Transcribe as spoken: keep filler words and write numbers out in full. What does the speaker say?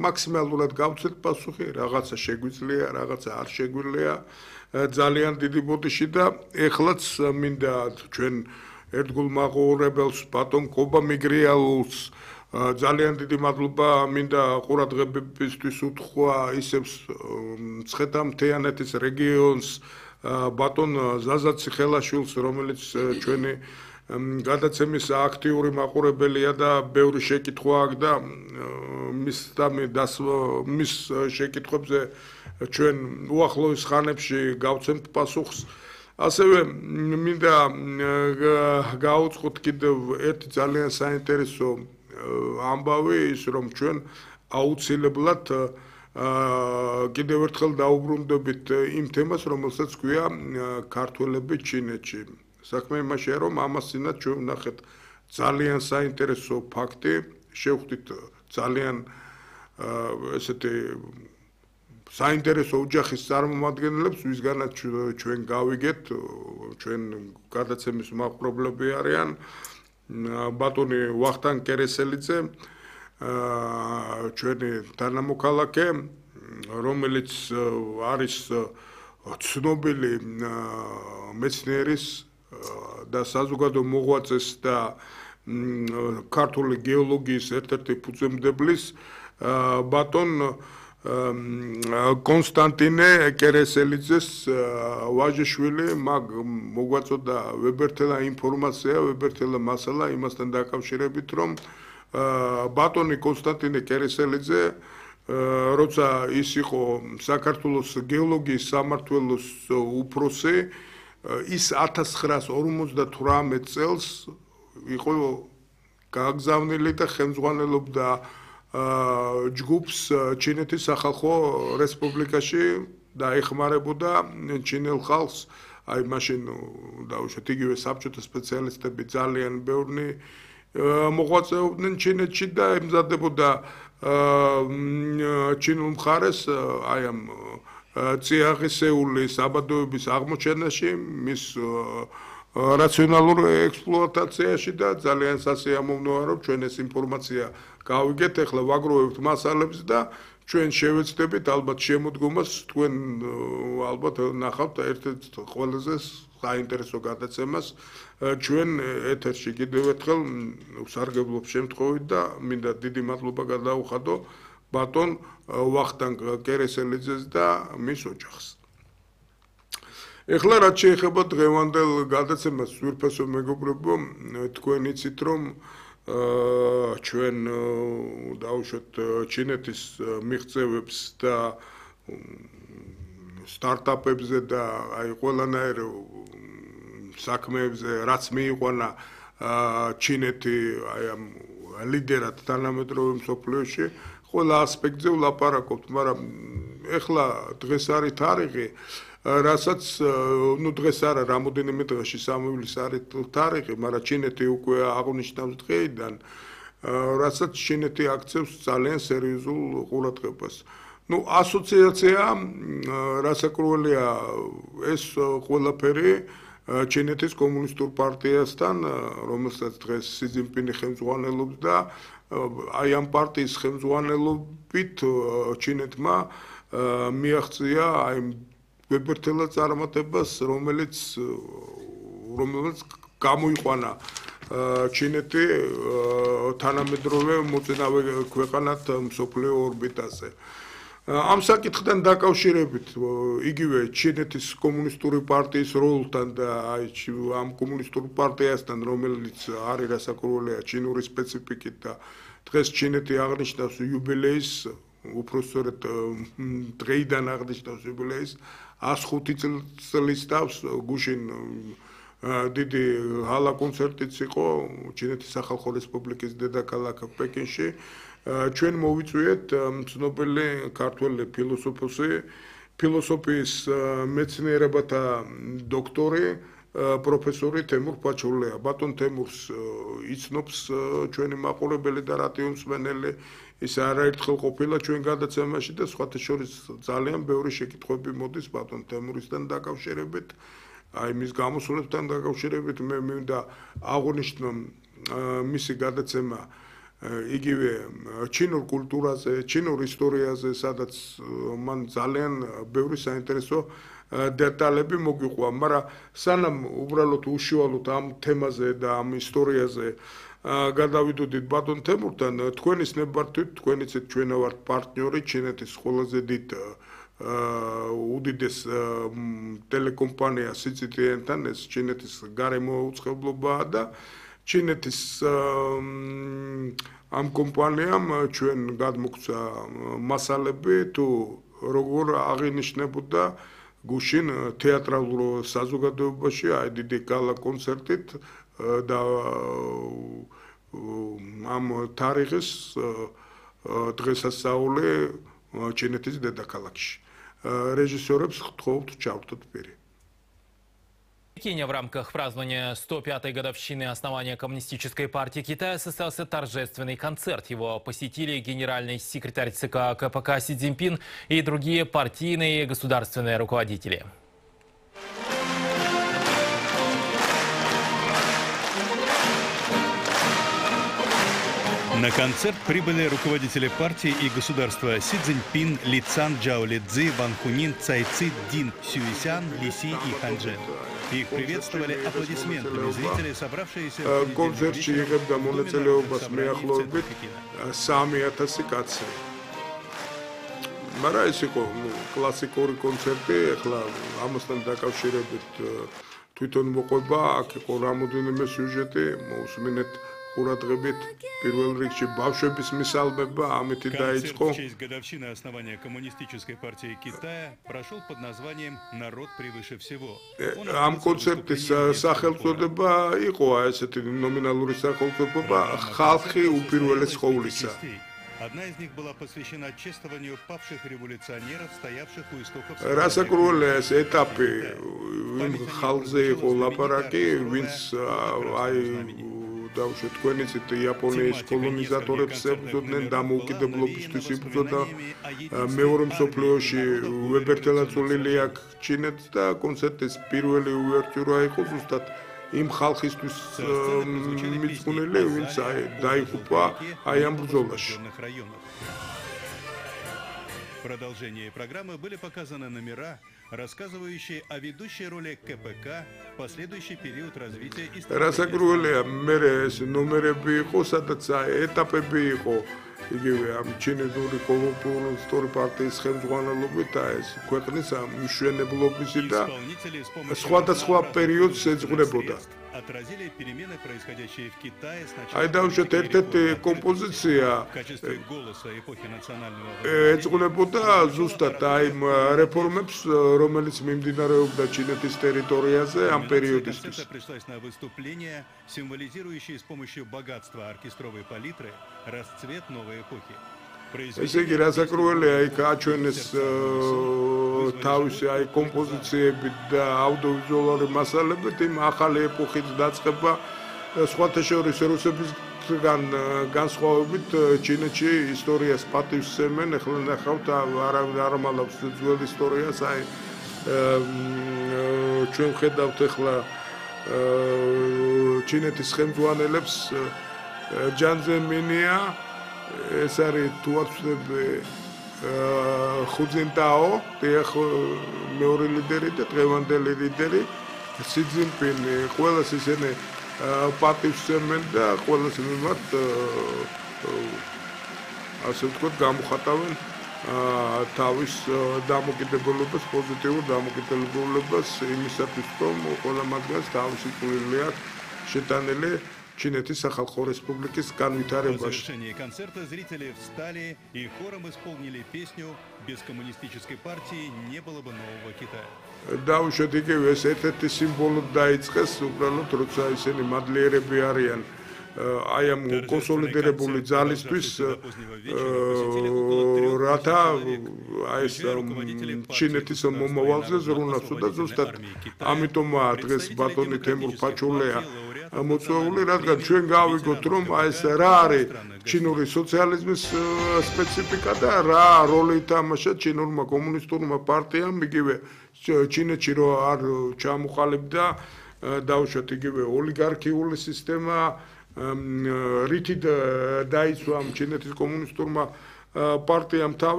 მაქსიმალურად გავცეთ პასუხი, რაღაცა შეგვიძლია, რაღაცა არ შეგვიძლია. ძალიან დიდი ბოდიში და ეხლაც მინდა ჩვენ ერთგულ მაყურებელს ბატონ კობა მიგრიალულს ძალიან დიდი მადლობა მინდა ყურადღებისთვის უთხრა ისევ მცხეთა-მთიანეთის რეგიონს ბატონ ზაზა ციხელაშვილს, რომელიც ჩვენი გადაცემის აქტიური მაყურებელია და ბევრი შეკითხვა აქვს და მის მის შეკითხვებზე ჩვენ უახლოეს ხანებში გავცემთ პასუხს. ასევე მინდა გაუწყოთ კიდევ ერთი ძალიან საინტერესო ამბავი, ის რომ ჩვენ აუცილებლად კიდევ ერთხელ დაუბრუნდებით იმ თემას, რომელსაც ქვია ქართველები ჩინეთში. საქმე იმაშია, რომ ამასთანავე ჩვენ ვნახეთ ძალიან საინტერესო ფაქტი, შევხვდით ძალიან ესეთი საინტერესო ოჯახის წარმომადგენლებს, ვისგანაც ჩვენ გავიგეთ, ჩვენ გადაცემის მაყურებლები არიან ბატონი ვახტანგ კერესელიძე, ჩვენი თანამოქალაქე, რომელიც არის ცნობილი მეცნიერის და საზოგადო მოღვაწეს და ქართული გეოლოგიის ერთ-ერთი ფუძემდებლის ბატონ კონსტანტინე კერესელიძეს ვაჟიშვილი, მაგ მოგვაწოდა ვებერთელა ინფორმაცია, ვებერთელა მასალა იმასთან დაკავშირებით, რომ ბატონი კონსტანტინე კერესელიძე, როცა ის იყო საქართველოს გეოლოგიის სამმართველოს უფროსი, ის ათას ცხრაას ორმოცდათვრამეტ წელს იყო გაგზავნილი და ხელმძღვანელობდა ჯგუფს ჩინეთის სახალხო რესპუბლიკაში და ეხმარებოდა ჩინელ ხალხს. აი მაშინ დავუშვათ იგივე საბჭოთა სპეციალისტები ძალიან ბევრი მოღვაწეობდნენ ჩინეთში და ემზადებოდა ჩინურ მხარეს აი ამ წიაღისეული საბადოების აღმოჩენაში, მის რაციონალურ ექსპლუატაციაში და ძალიან სასიამოვნოა, რომ ჩვენ ეს ინფორმაცია გავიგეთ, ახლა ვაგროვებთ მასალებს და ჩვენ შევეცდებით ალბათ შემოდგომას, თქვენ ალბათ ნახავთ ერთ-ერთ ყველაზე საინტერესო გადაცემას ჩვენ ეთერში კიდევ ერთხელ ვსარგებლობ შემთხვევით და მინდა დიდი მადლობა გადაუხადო ბატონ ვახტანგ კერესელიძეს და მის ოჯახს. ეხლა რაც შეეხება დღევანდელ გადაცემას, სვირფასო მეგობრებო, თქვენ იცით, რომ ჩვენ დავუშვათ ჩინეთის მიღწევებს და სტარტაპებზე და აი ყველანაირ საქმეებზე, რაც მიიყვანა ჩინეთი აი ამ ლიდერად თანამედროვე მსოფლიოში, ყველა ასპექტზე ვლაპარაკობთ, მაგრამ ეხლა დღეს არის თარიღი, რასაც ნუ დღეს არა, რამოდენიმე დღეში სამივლის არის თარიღი, მაგრამ ჩინეთი უკვე აღნიშნავს დღეიდან, რასაც ჩინეთი აქცევს ძალიან სერიოზულ ყურადღებას. ნუ ასოციაცია, რასაკურველია ეს ყველაფერი ჩინეთის კომუნისტურ პარტიასთან, რომელსაც დღეს სი ძინპინი ხელმძღვანელობს და აი ამ პარტიის ხელმძღვანელობით ჩინეთმა მიაღწია აი ვებერთელა წარმატებას, რომელიც რომელიც გამოიყვანა ჩინეთი თანამედროვე მოწინავე ქვეყანად მსოფლიო ორბიტაზე. ამ საკითხთან დაკავშირებით იგივე ჩინეთის კომუნისტური პარტიის როლთან და აი ამ კომუნისტურ პარტიასთან, რომელიც არის რასაკურველია ჩინური სპეციფიკით და დღეს ჩინეთი აღნიშნავს იუბილეის, უпроსწორად დღეიდან აღნიშნავს იუბილეის ას ხუთი წლის თავს გუშინ დიდი ჰალა კონცერტიც იყო ჩინეთის სახალხო რესპუბლიკის დედაქალაქ პეკინში. ჩვენ მოვიწვიეთ ცნობილი ქართველი ფილოსოფოსი, ფილოსოფიის მეცნიერებათა დოქტორი, პროფესორი თემურ ფაჩურლია. ბატონ თემურს იცნობს ჩვენი მაყურებელი და რადიო მსმენელი, ის არაერთხელ ყოფილა ჩვენ გადაცემაში და სხვათა შორის ძალიან ბევრი შეკითხვები მოდის ბატონ თემურისთან დაკავშირებით. აი მის გამოსვლებთან დაკავშირებით მე მინდა აღვნიშნო მისი გადაცემა იგივე ჩინურ კულტურაზე, ჩინურ ისტორიაზე, სადაც მან ძალიან ბევრი საინტერესო დეტალები მოგიყვა, მაგრამ სანამ უბრალოდ უშუალოდ ამ თემაზე და ამ ისტორიაზე გადავიდოდით ბატონ თემურთან, თქვენის ნებართვით, თქვენიცით ჩვენა ვართ პარტნიორი ჩინეთის ყველაზე დიდ უდიდეს ტელეკომპანია სი ჯი ტი ენ-თან, ეს ჩინეთის გარემოუწყებლობაა და ჩინეთის ამ კომპანიამ ჩვენ გადმოგცა მასალები თუ როგორ აღინიშნებოდა გუშინ თეატრალურ საზოგადოებაში აი დიდი გალა კონცერტით და ამ თარიღის დღესასწაული ჩინეთის დედაქალაქში. Режиссерებს გთხოვთ ჩავთოთ პირი. В Пекине в рамках празднования сто пятой годовщины основания Коммунистической партии Китая состоялся торжественный концерт. Его посетили генеральный секретарь ЦК ка пэ ка Си Цзиньпин и другие партийные и государственные руководители. На концерт прибыли руководители партии и государства Си Цзиньпин, Ли Цан, Джао Лидзи, Ван Хунин, Цай Ци, Дин Сюйсян, Ли Си и Хан Чжэн. Их приветствовали аплодисментами зрители, собравшиеся в კონცერტში იღებდა მონაწილეობას მეახლოებით სამი ათასი კაცი. მაგრამ ეს იყო კლასიკური კონცერტი, ახლა ამასთან დაკავშირებით თვითონ მოყვება, აქ იყო რამოდენიმე сюжеტი, მოусმინეთ ყურადღებით პირველ რიგში ბავშვების მისალმება, ამით დაიწყო. В честь годовщины основания Коммунистической партии Китая прошел под названием «Народ превыше всего». Ამ კონცერტის სახელწოდება იყო ესეთი ნომინალური სახელწოდება ხალხი უპირველეს ყოვლისა. Одна из них была посвящена чествованию павших революционеров, стоявших у истоков. Расакრულია ეს ეტაპი იმ ხალხზე იყო ლაპარაკი, ვინც აი დავუშვათ თქვენიცით იაპონიის კოლონიზატორებს ებრძოდნენ დამოუკიდებლობისთვის იბრძოდა მეორე მსოფლიოში უებერთელად წვლილი აქვს ჩინეთს და კონცერტის პირველი უვერტიურა იყო ზუსტად იმ ხალხისთვის მიძღვნილი, ვინც დაიღუპა აი ამ ბრძოლაში. В продолжении программы были показаны номера, рассказывающие о ведущей роли ка пэ ка в последующий период развития истории. Расакრულია მე ეს ნომერები იყო, სადაც ეტაპები იყო იგივე ამ ჩინური კომუნისტური პარტიის ხელმძღვანელობით და ეს ქვეყნის მშვენებლობისი და სხვადასხვა პერიოდს ეძღვნებოდა. Отразили перемены, происходящие в Китае сначала. Აი დავუშვათ ერთ-ერთი კომპოზიცია в качестве голоса эпохи национального ეძღვნებოდა ზუსტად აი რეფორმებს, რომელიც მიმდინარეობდა ჩინეთის ტერიტორიაზე ამ პერიოდისთვის. Пришлось на выступление, символизирующее с помощью богатства оркестровой палитры расцвет новой эпохи. ესე იგი რასაკრულია იქ აჩვენეს თავისი აი კომპოზიციები და აუდიოვიზუალური მასალებით იმ ახალი ეპოქის დაწყება სხვათა შორის რუსებისგან განსხვავებით ჩინეთში ისტორიას პატივსცემენ, ახლა ნახავთ არ ამალავს ძველ ისტორიას, აი ჩვენ ხედავთ ახლა ჩინეთის ხელმძღვანელებს ჯან ზემინია ეს არის თუ არ ვცდები ხუ ძინტაო, დიახ მეორე ლიდერი და დღევანდელი ლიდერი სი ძინპინი, ყველას ისინი პატივსცემენ და ყველას მიმართ ასე ვთქვათ გამოხატავენ თავის დამოკიდებულებას, პოზიტიურ დამოკიდებულებას იმისათვის, რომ ყველა მათგანს თავისი წვლილი აქვს შეტანილი Чинეთის სახალხო რესპუბლიკის განვითარებაში. По завершении концерта зрители встали и хором исполнили песню «Без коммунистической партии не было бы нового Китая». Დავუშვათ იგივე ეს ერთ-ერთი სიმბოლოდ დაიწყეს, უბრალოდ როცა ისინი მადლიერები არიან აი ამ კონსოლიდირებული ძალისთვის, რათა აი ეს ჩინეთის მომავალზე ზრუნავს და ზუსტად ამიტომაა დღეს ბატონი თემურ ფაჩულეა მოწვეული, რადგან ჩვენ გავიგოთ, რომ აი ეს რა არის ჩინური სოციალიზმის სპეციფიკა და რა როლი ითამაშა ჩინურმა კომუნისტურმა პარტიამ, იგივე ჩინეთში რო არ ჩამოყალიბდა, დავუშვათ იგივე ოლიგარქიული სისტემა, რითი დაიცვა ჩინეთის კომუნისტურმა პარტიამ თავი